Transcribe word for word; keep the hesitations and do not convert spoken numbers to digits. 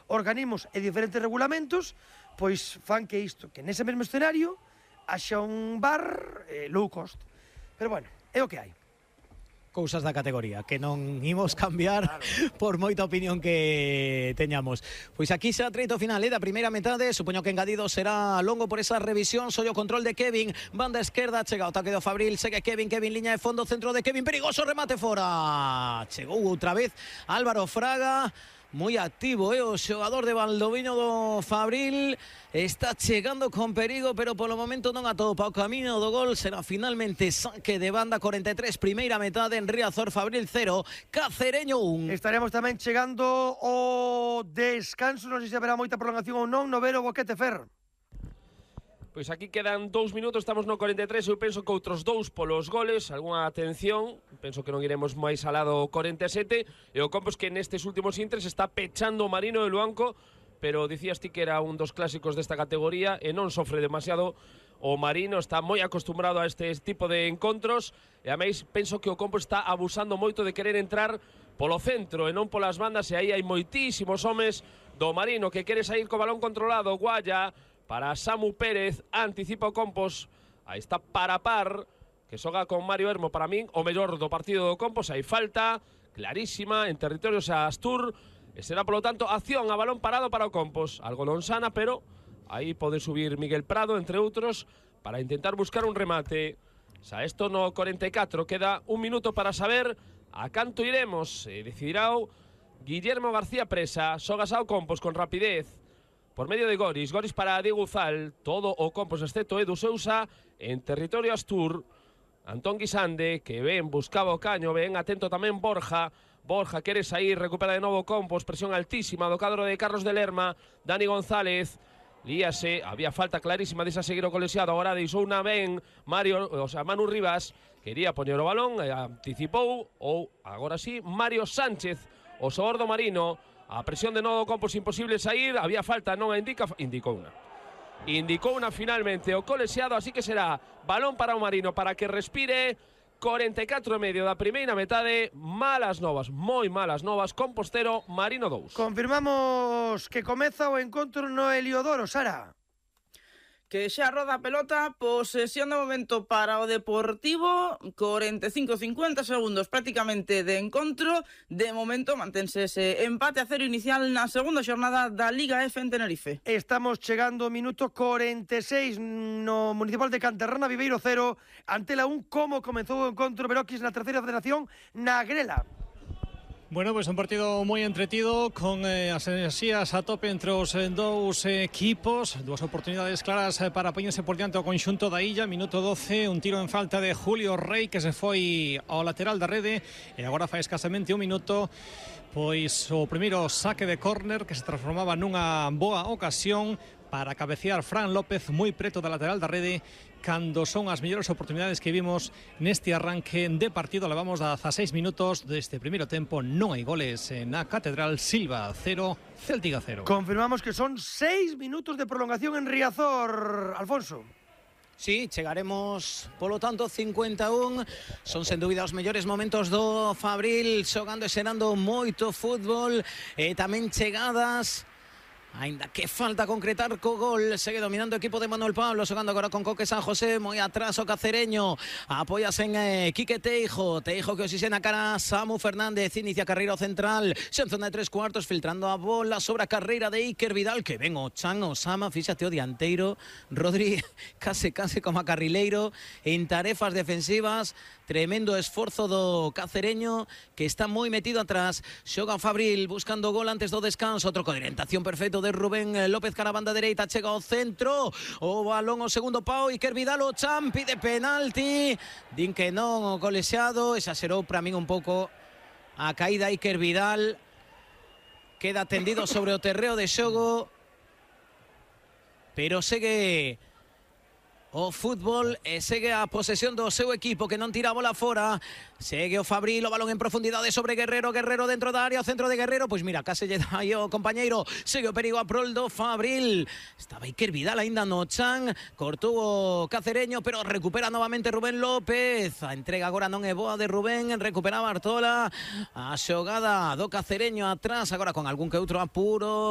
organismos e diferentes regulamentos pois fan que isto, que nese mesmo escenario haxa un bar eh, low cost. Pero bueno, é o que hai. Cousas da categoría que non imos cambiar, claro, por moita opinión que teñamos. Pois aquí xa treito final eh, da primeira metade. Supoño que engadido será longo por esa revisión. Soy o control de Kevin, banda esquerda, chega o ataque do Fabril, segue Kevin, Kevin liña de fondo, centro de Kevin, perigoso, remate fora. Chegou outra vez Álvaro Fraga, moi activo, eh, o xogador de Valdoviño do Fabril. Está chegando con perigo, pero polo momento non atopa o camiño do gol. Será finalmente saque de banda. Cuarenta y tres, primeira metade en Riazor. Fabril cero, Cacereño un. Estaremos tamén chegando o descanso. Non sei se haberá moita prolongación ou non. No Vero Boquete, Fer. Pois aquí quedan dous minutos, estamos no cuarenta y tres, eu penso que outros dous polos goles, algunha atención, penso que non iremos máis alado cuarenta y sete, e o Compos que nestes últimos intres está pechando o Marino de Luanco, pero dicías ti que era un dos clásicos desta categoría e non sofre demasiado o Marino, está moi acostumbrado a este tipo de encontros, e a máis penso que o Compos está abusando moito de querer entrar polo centro e non polas bandas, e aí hai moitísimos homes do Marino que quere sair co balón controlado. Guaya para Samu Pérez, anticipa o Compos, aí está para par, que xoga con Mario Hermo, para min o mellor do partido do Compos. Hai falta clarísima en territorio xa Astur, e será polo tanto acción a balón parado para o Compos, algo non sana, pero aí pode subir Miguel Prado, entre outros, para intentar buscar un remate. Xa isto no cuarenta y catro, queda un minuto para saber a canto iremos, e decidirá Guillermo García Presa. Xogas ao Compos con rapidez por medio de Goris, Goris para Diego Uzal, todo o Compos excepto Edu Sousa en territorio Astur. Antón Guisande, que ven, buscaba o caño, ven, atento tamén Borja, Borja quere sair, recupera de novo Compos, presión altísima do cadro de Carlos de Lerma, Dani González, líase, había falta clarísima desa seguir o colexiado, agora deixou unha ben Mario, o sea, Manu Rivas, quería poñer o balón, e anticipou, ou agora sí, Mario Sánchez, o xogador do Marino. A presión de novo Compos, imposible sair, había falta, non a indica, indicou unha. Indicou unha finalmente o colexiado, así que será balón para o Marino para que respire. cuarenta y catro e medio da primeira metade, malas novas, moi malas novas, Compos cero, Marino dous. Confirmamos que comeza o encontro no Heliodoro, Sara. Que xa roda a pelota, posesión de momento para o Deportivo, cuarenta y cinco cincuenta segundos prácticamente de encontro. De momento mantense ese empate a cero inicial na segunda xornada da Liga F en Tenerife. Estamos chegando ao minuto cuarenta y seis no Municipal de Canterrana, Viveiro cero, Antela un. Como comezou o encontro Beroquis na terceira federación na Grela? Bueno, pues un partido moi entretido con eh, as enerxías a tope entre os eh, dous eh, equipos, dúas oportunidades claras eh, para poñerse por diante o conxunto da Illa. Minuto doce, un tiro en falta de Julio Rey que se foi ao lateral da rede, e agora fai escasamente un minuto pois o primeiro saque de córner que se transformaba nunha boa ocasión para cabecear Fran López moi preto da lateral da rede, cando son as mellores oportunidades que vimos neste arranque de partido. Levamos dezaseis minutos deste primeiro tempo, non hai goles na Catedral. Silva cero, Céltica cero. Confirmamos que son seis minutos de prolongación en Riazor, Alfonso. Sí, chegaremos, polo tanto, cincuenta y uno. Son sen dúbida os mellores momentos do Fabril, xogando e xerando moito fútbol, e tamén chegadas. Ainda que falta concretar co gol. Segue dominando o equipo de Manuel Pablo, xogando agora con Coque San José, moi atrás o Cacereño, apóyase en eh, Quique Teijo, Teijo que oxixena cara a Samu Fernández, inicia carreira central, xa en zona de tres cuartos, filtrando a bola sobre a carreira de Iker Vidal, que ven o Chan Osama, fíxate o dianteiro, Rodri case case como a carrileiro en tarefas defensivas. Tremendo esforzo do Cacereño, que está moi metido atrás. Xoga Fabril buscando gol antes do descanso, troco de orientación perfecto de Rubén López cara a banda dereita, chega ao centro, o balón ao segundo pau, Iker Vidal, o Chan pide penalti, din que non o colexiado, exagerou para min un pouco a caída Iker Vidal, queda tendido sobre o terreo de xogo, pero segue o fútbol e segue a posesión do seu equipo, que non tira a bola fora. Segue o Fabril, o balón en profundidade sobre Guerrero, Guerrero dentro da área, o centro de Guerrero, pois mira, case lle dá aí o compañeiro. Segue o perigo a prol do Fabril, estaba Iker Vidal aínda no Chan, cortou o Cacereño, pero recupera novamente Rubén López. A entrega agora non é boa de Rubén, recupera Bartola, a xogada do Cacereño atrás, agora con algún que outro apuro.